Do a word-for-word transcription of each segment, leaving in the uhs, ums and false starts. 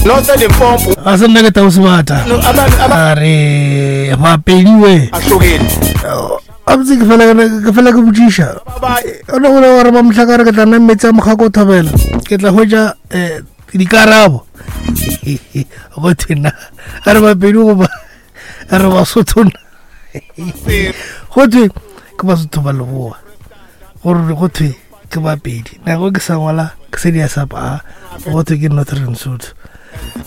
Northern Limpopo Ga se nna ke tau sebata. Abantu A re bapediwe. abahlukile Abotse ke fela ke fela ke botšiša. O ne gore gore ba mohlakare ke tla nna metsi a mokgako o thobela. Ke tla hwetša eh dikarabo. Go thwe na a re bapedi goba a re basotho na. Go thwe ke basotho ba leboa. Gore go thwe ke bapedi. Nako ke sa ngwala ke se di sa pa go thwe ke Northern Sotho.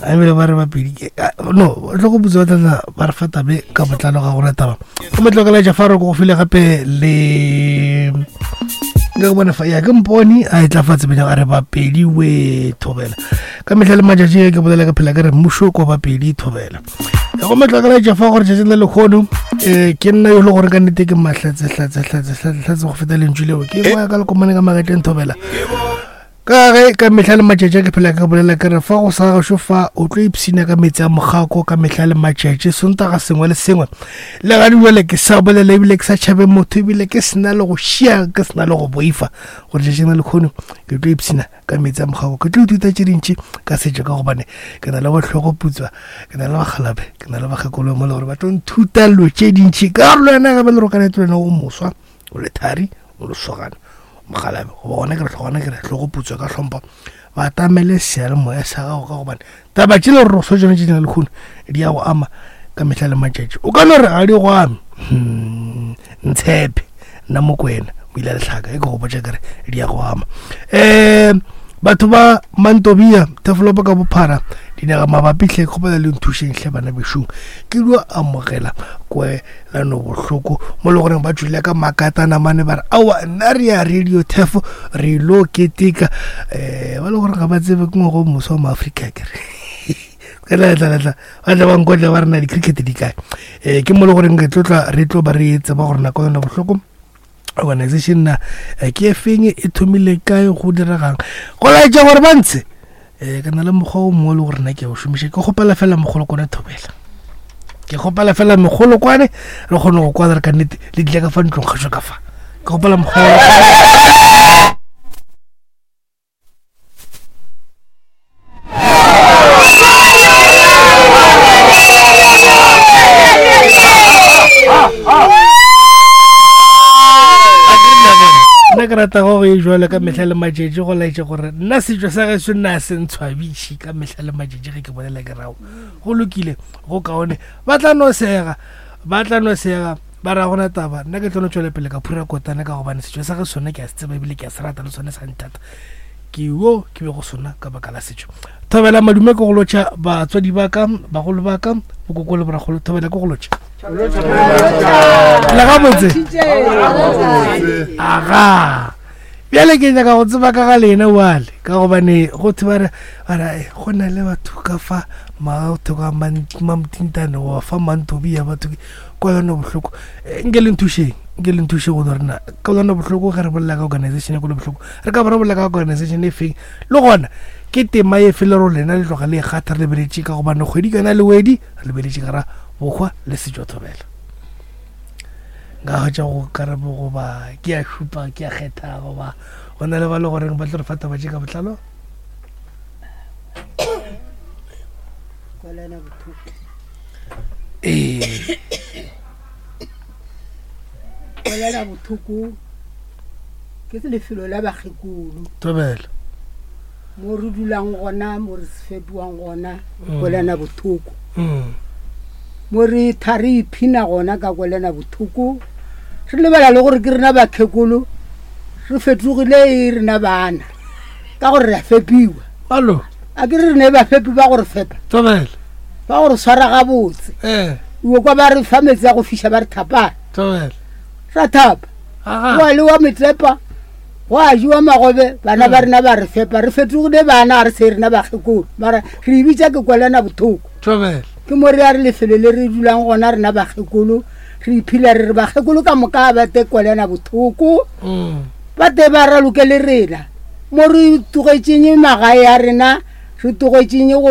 A ebile ba re bapedi ke- a- no tlo go botsa tla ba re fa tabe ka botlalo ga gona taba. Go metlokela Jafaro go file gape le nka go bona fa ya ke mpone a e tla fatshe benya a re bapedi we thobela ka mehla le matšatši ke bolela ka phela ke re mmušo kwa bapedi thobela go metlokela Jafa gore tšatšing le lekgono um ke nna yo le gore ka nnete ke mahlatse hlatse hlatse hlatse hlatse go feta lentšu leo ke boya ka lekomane ka magetleng thobela ka ge ka mehla le matšatši ke phela ke bolela ke re fa go sa gašo fa o tlo ipshina ka metsi a mokgako ka mehla le matšatši sontaga sengwe le sengwe le ga jale ke sa bolela ebile ke sa tšhabe motho ebile ke sena le go šia ke sena le go boifa gore tšatšing le lekgono ke tlo ipshina ka metsi a mokgako ke tlo ithuta tše dintši ka setšo ka gobane ke na le botlhogo putswa ke na le bakgalabe ke na le bakgekolo mo le gore ba tlo nthuta dilo tše dintši ka gore le wena gape le rokanete le wena o moswa o le thari o lesogana mogalabe goba gona ke re gona ke re hlogo putswa ka hlompho ba tamele seyalemoya sa gago ka gobane taba tše le gore so tsone tše dina lekgono di ya go ama ka mehla le matšatši o ka no re ga di go ame Hmm, ntshepe nna mokwena o ile lehlaka e ke go botša kere di ya go ama um batho ba mantobia tevelopo ka bophara dinaga mabapi hle ke kgopela le nthušeng hle bana bešong ke dio amogela kwelano bohloko mo le goreng ba tswile ka makatana mane ba re aowa nna re ya radio tefo re ilo keteka um ba le gore ga ba tsebe ke ngwago o moswa wa maaforika kere letla ba tla ba nkotla ba re na di-cricket di kae um ke mo le goreng re tlotla re tlo ba re tseba gore nako yona bohloko organization na eh, ke e feng e thomile kae go diregang go laetša gore ba ntshe um ke na le mokgwa o mongwe le gore nna ke a o šomiša ke kgopela fela mogolokwane thobela ke kgopela fela megolokwane re kgone go kwana re ka nnete le tlile ka fa ntlong kgašo ka fa ke kgopela mokgwa nna ke rata go e jalo ka mehla le matšatši go laetša gore nna setšo sa geso nna se ntshwabiše ka mehla le matšatši ge ke bolela ke rago go lokile go kaone ba tla no sega ba tla no sega ba ra gona taba nna ke tlo no tšwela pele ka phura kotane ka gobane setšo sa ge sone ke a se tseba ebile ke a se rata le sone sa nthata ke yo ke be go sona ka baka la setšo thobela madume ke go lotšha batswadi ba ka bagolo ba ka bokoko le boragolo thobela ke go lotšha le gabotse aga bjale ke nyaka go tseba ka ga lena wale ka gobane go thwe ba re ba re "Eh, go na le batho ka fa batho ka mamtintane goba fa mantobia batho ke kwelano bohloko Eh, nke le nthušeng nke le nthuše go no rena kwelano bohloko ge re bolela ka organization ya kwelo bohloko re ka ba re bolela ka organization e feng le gona ke tema e fe le ro lena le tloga le e kgatha re lebeletše ka gobane kgwedi kana le wedi re lebeletše ka ra bokgwa le setšo thobela nka hwetša go karabo goba ke a šupa ke a kgetha goba go na le ba le goreng ba tlo re fa taba tše ka botlalo Kwelana bohloko ee kwelana bohloko ke lefelo la bakgekolo thobela mo re dulang gona mo re fepiwang gona kwelana bohloko Mm. mo re tha re iphina gona ka kwelana bohloko re lebala le gore ke rena bakgekolo re fetogile e rena bana ka gore re a fepiwa alo a ke re rene bafepi ba gore fepa thobela ba gore swara gabotse ee o kwa ba re fa metsi a go fiša ba re thapana thobela ra thapa aga go a lewa metlepa go a jewa magobe bana ba rena ba re fepa re fetogile bana ga re se rena bakgekolo mara re e bitša ke kwelana bothoko thobela ke mo re ya re lefelo le re dulang gona rena bakgekolo re iphila re re bakgekolo ka moka ba te kwelana bothoko Mm. ba te ba raloke le rena mo re tlogetšeng magae a rena re tlogetšeng go